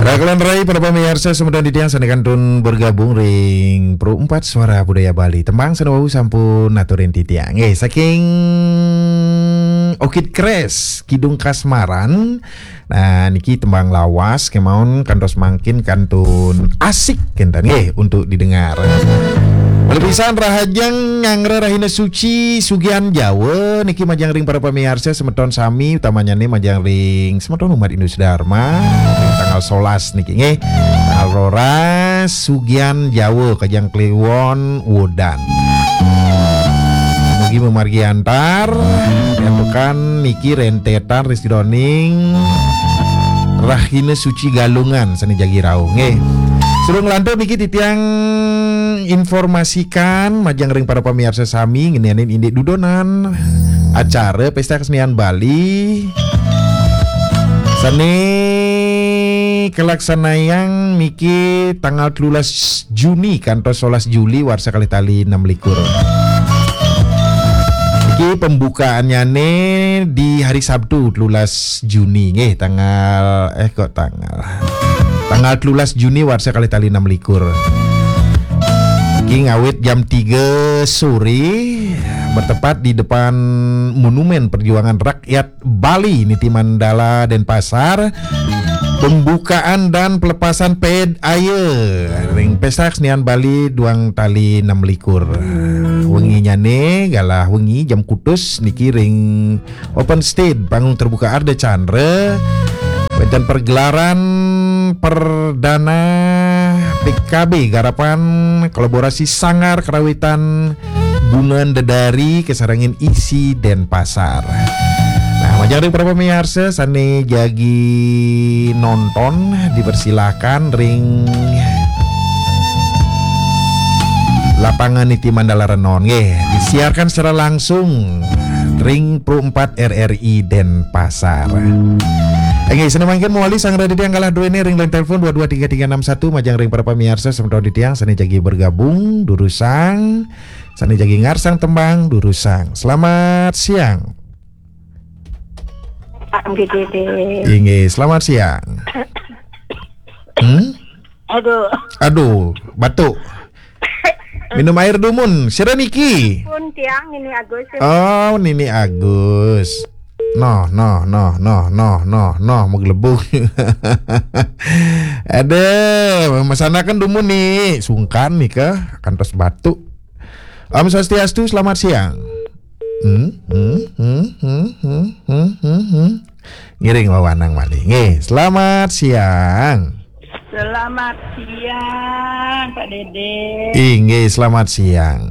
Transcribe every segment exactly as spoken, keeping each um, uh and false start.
Rakelan rai para pamiarsa semeton titiang sane kantun bergabung ring Pro empat Suara Budaya Bali. Tembang sane wau sampun aturin titiang. Nggih, saking Orchid Crest, Kidung Kasmaran. Nah, niki tembang lawas kemawon kantos mangkin kantun asik kenten nggih untuk didengar. Malih pisan rahajeng nyanggra rahina suci sugihan Jawa niki majeng ring para pamiarsa semeton sami, utamanyane majeng ring semeton umat Hindu Dharma, ring tanggal solas niki nggih. Tanggal roras sugihan Jawa kajeng kliwon wodan. Mugi mamargi antar, niki rentetan ring sidaning rahina suci Galungan sane jagi rauh nggih. Sedurung lantur niki titiang informasikan majeng ring para pamiarsa sami ngenenin indik dudonan acara Pesta Kesenian Bali sane kalaksanayang niki tanggal telulas Juni kantos solas Juli warsa kalih tali enam likur. Niki pembukaannyane di hari Sabtu telulas Juni nggih, tanggal, eh, kok tanggal, tanggal telulas Juni warsa kalih tali enam likur. Niki ngawit jam tiga sore bertepat di depan Monumen Perjuangan Rakyat Bali niti Mandala Denpasar, pembukaan dan pelepasan ped aye ring Pesta Kesenian Bali duang tali enam likur. Wenginyane galah wengi jam kutus niki ring open stage panggung terbuka Ardha Candra, wenten pergelaran perdana P K B garapan kolaborasi Sanggar Karawitan Bungan Dedari kasarengin I S I Denpasar. Nah, majeng ring para pamiarsa sane jagi nonton dipersilakan ring lapangan niti Mandala Renon nggih. Disiarkan secara langsung ring Pro empat R R I Denpasar. Nggih, sane mangkin mawali sang raditya galah duene ring line telepon dua dua tiga tiga enam satu majeng ring para pamiarsa semeton titiang sane jagi bergabung durusang, sane jagi ngarsang tembang durusang. Selamat siang. Pak G D D. Inggih, selamat siang. Hmm? Aduh. Aduh, batuk. Minum air dumun. Sira niki? Pun tiang Nini Agus. Oh, Nini Agus. Noh, noh, noh, noh, noh, noh, noh, maglebug. Aduh, masanaken dumun nih, sungkan nih ke, kantos batuk. Om Swastiastu, selamat siang. Hmm, hmm, hmm, hmm, hmm, hmm, hmm, hmm. Ngiring wewanang malih. Nggih, selamat siang. Selamat siang, Pak Dede. Inggih, selamat siang.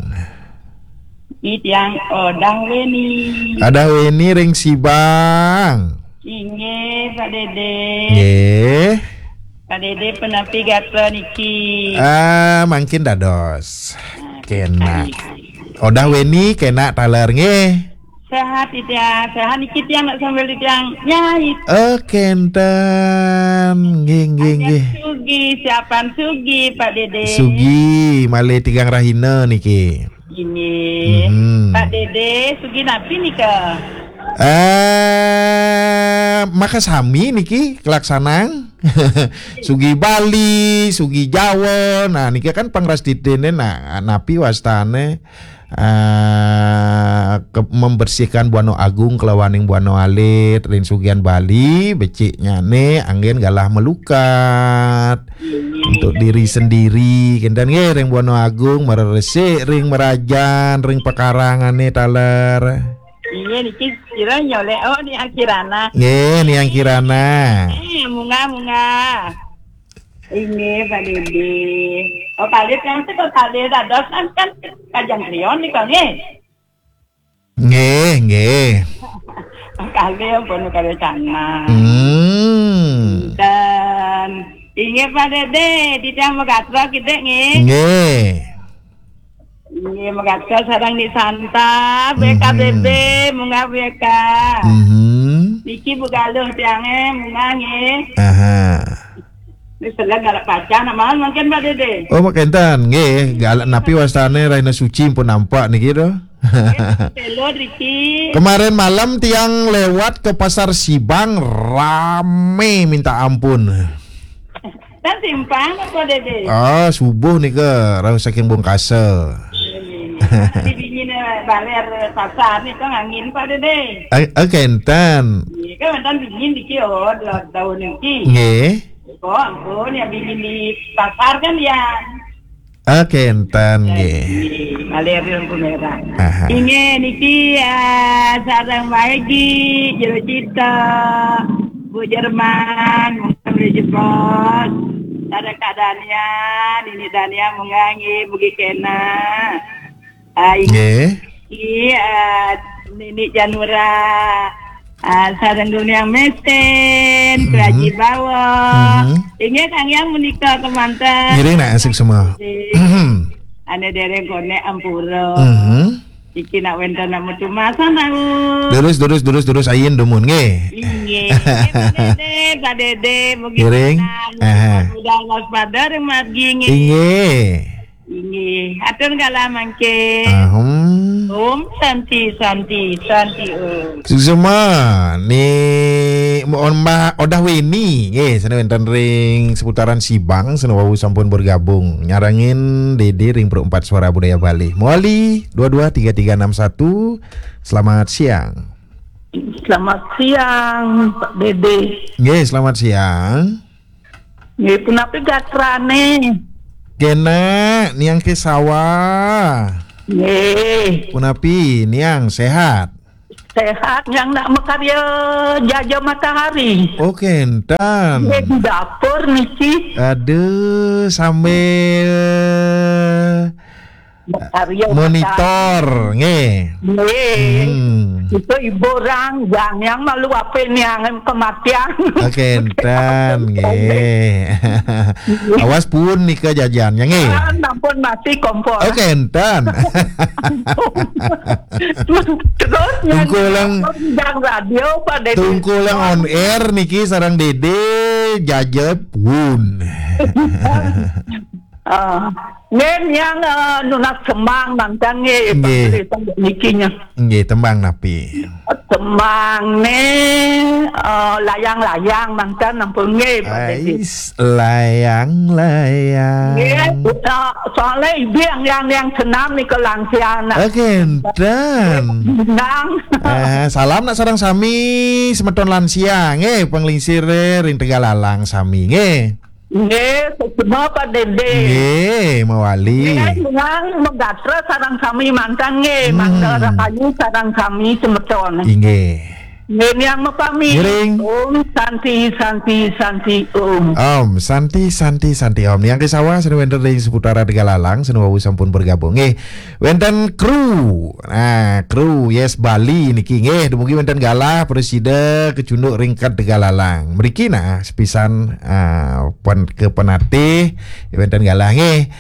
Iki tiang Odah Weni. Odah Weni ring Sibang. Inggih, Pak Dede. Nggih. Pak Dede, punapi gatra niki? Ah, mangkin dados. Nah, kena. Odah Weni kena taler nggih. Sehat, Ida. Sehat niki tiang nak sambil tiang nyai. Oh, kenten. Nggih, nggih, nggih. Sugi, siapan Sugi, Pak Dede? Sugi, malih tigang rahina niki. Inggih. Mhm. Pak Dede, Sugi napi nika? Eh, makasami niki kalaksanang. Sugi Bali, Sugi Jawa. Nah, niki kan pangrastitine, nah, napi wastane? Eh, ke-, membersihkan Buana Agung kelawaning Buana Alit, ring sugihan Bali, beciknyane anggen galah melukat. Untuk diri sendiri, kenten nggih, ring Buana Agung, mareresik ring merajan, ring pakarangane taler. Inggih, niki sira nyolek, oh, Niang Kirana. Nggih, Niang Kirana. Eh, munggah, munggah. Inggih, Pak Dede. Oh, kalih kan, kok kalih dados kan, kan Kajang Krion nika nggih. Nggih, nggih. Kalih ampun, kalih canang. Hmm. Dan inggih, Pak Dede, titiang magatra kidik nggih. Nggih. Inggih, magatra sareng Ni Santa, mhm, B K B B, munggah B K. Mhm. Niki Bu Galuh tiange, munggah nggih. Aha. Wis telah galak pacang, nak mawon mangkin, Pak Dede. Oh, mangkenten, nggih. Galak napi wastane rahina suci pun nampak niki to. Nggih, telo driki. Kemarin malam tiang lewat ke Pasar Sibang, rame minta ampun. Kan simpang apa, Dede? Ah, subuh nika rauh saking Bungkasa. Di dingin, eh, baler pasar nih, kan angin, Pak Dede. Eh, eh, kenten. Iya, kan mantan dingin dikit, oh, dua tahun ini. Nggih. Oh, ampun, ya dingin di pasar kan ya. Ah, kenten, nggih. Nggih, baler lampu merah. Aha. Inggih, niki, ah, sareng Maegi, Jero Cita, Bu Jerman, mungkin jebos. Sareng Kak Dania, Nini Dania, munggah nggih, mugi kena. Ah, inggih. Nggih. Iya, Nini Janura, ah, sareng Dunia Mesin, Mhm. Praji Bawah. Mhm. Inggih, Kang Yang menika kemanten. Ngiring nak asik semua. Nggih. Ane dereng konek ampura. Mhm. Iki nak wenten nak metu masa, nak. Durus, durus, durus, durus, ayin dumun, nggih. Inggih. Nggih, Pak Dede, Pak Dede, mugi Ngiring. Tenang. Aha. Mudah waspada ring margi, nggih. Inggih. Inggih. Atur galah mangke. Ahem. Om Santi, Santi, Santi, Om. Suksma, ni mohon ma-, Odah Weni, nggih, sana wenten ring seputaran Sibang, sana wau sampun bergabung. Nyarengin Dede ring Pro empat Suara Budaya Bali. Mawali dua dua tiga tiga enam satu. Selamat siang. Selamat siang, Pak Dede. Nggih, selamat siang. Nggih, punapi gatrane? Kena, Niang Kesawa. Nggih. Punapi, Niang sehat? Sehat, Niang nak makarya jaja matahari. Oh, kenten. Nggih, di dapur niki. Aduh, sambil makarya monitor, matahari. Nggih. Nggih. Hmm. Itu ibu orang, Niang malu apa Niang kematian. Oke, entan, nggih. Awas pun nika jajannya, nggih. Ah, ampun mati kompor. Oke, entan. Terus nyanyi Tungkulang, radio pada Tungkulang on air niki sareng Dede jaja pun. Ah, nggih, Niang, eh, nunas sembang manten nggih, nggih. Niki nya. Nggih, tembang napi? Tembang ne, eh, layang-layang manten ampun nggih, Pak Dedi. Ais, layang-layang. Nggih, eh, soalnya ibu yang, yang, yang senam nih ke lansia anak. Oke, enten. Nang. Eh, salam nak sareng sami semeton lansia nggih, panglingsire ring Tegalalang sami nggih. Nggih, semua Pak Dede. Nggih, mawali. Nggih, Niang megatra sareng sami manten nggih, hmm. Mangda rahayu sareng sami semeton. Inggih. Nggih, Niang mapamit. Ngiring. Om Santi, Santi, Santi, Om. Om Santi, Santi, Santi, Om. Niang Kesawa, sane wenten ring seputaran Tegalalang, sane wau sampun bergabung. Nggih, wenten kru. Nah, kru Yes Bali niki nggih, dumugi wenten galah prasida kecunduk ring Tegalalang. Mriki nah, sepisan, ah, pun ke penatih, wenten galah nggih.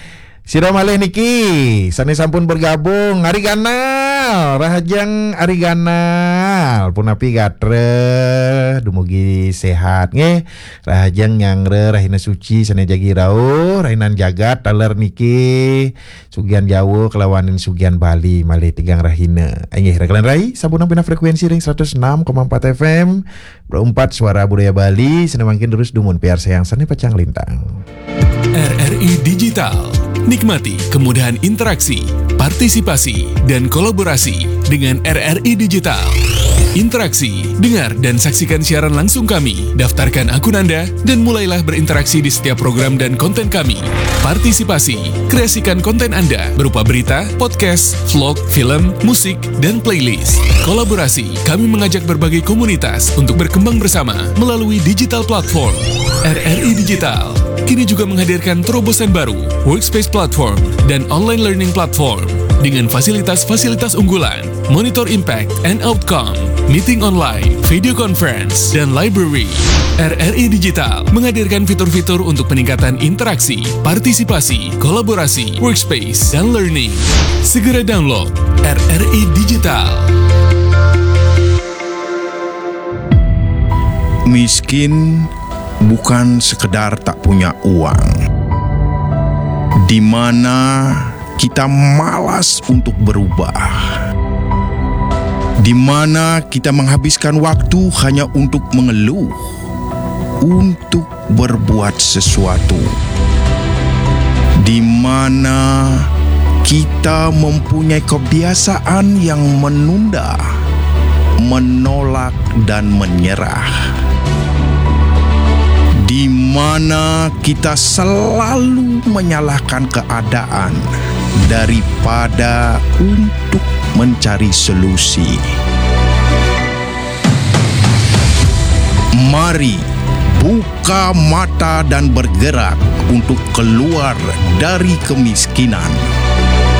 Sira malih niki, sane sampun bergabung, Ari Ganal, rahajeng Ari Ganal, punapi gatra, dumugi sehat nggih. Rahajeng nyanggra rahina suci sane jagi rauh, rahinan jagat taler niki, sugihan Jawa kelawanin sugihan Bali malih tigang rahina. Inggih, rekan rai, sampun nampina frekuensi ring seratus enam koma empat F M, Pro empat Suara Budaya Bali, sane mangkin terus dumun piarsayang sane pacang lintang. R R I Digital. Nikmati kemudahan interaksi, partisipasi, dan kolaborasi dengan R R I Digital. Interaksi, dengar dan saksikan siaran langsung kami, daftarkan akun Anda, dan mulailah berinteraksi di setiap program dan konten kami. Partisipasi, kreasikan konten Anda berupa berita, podcast, vlog, film, musik, dan playlist. Kolaborasi, kami mengajak berbagai komunitas untuk berkembang bersama melalui digital platform. R R I Digital kini juga menghadirkan terobosan baru, Workspace Platform dan Online Learning Platform, dengan fasilitas-fasilitas unggulan, monitor impact and outcome, meeting online, video conference, dan library. R R I Digital menghadirkan fitur-fitur untuk peningkatan interaksi, partisipasi, kolaborasi, workspace, dan learning. Segera download R R I Digital. Miskin bukan sekedar tak punya uang, di mana kita malas untuk berubah, di mana kita menghabiskan waktu hanya untuk mengeluh, untuk berbuat sesuatu, di mana kita mempunyai kebiasaan yang menunda, menolak, dan menyerah, di mana kita selalu menyalahkan keadaan daripada untuk mencari solusi. Mari buka mata dan bergerak untuk keluar dari kemiskinan.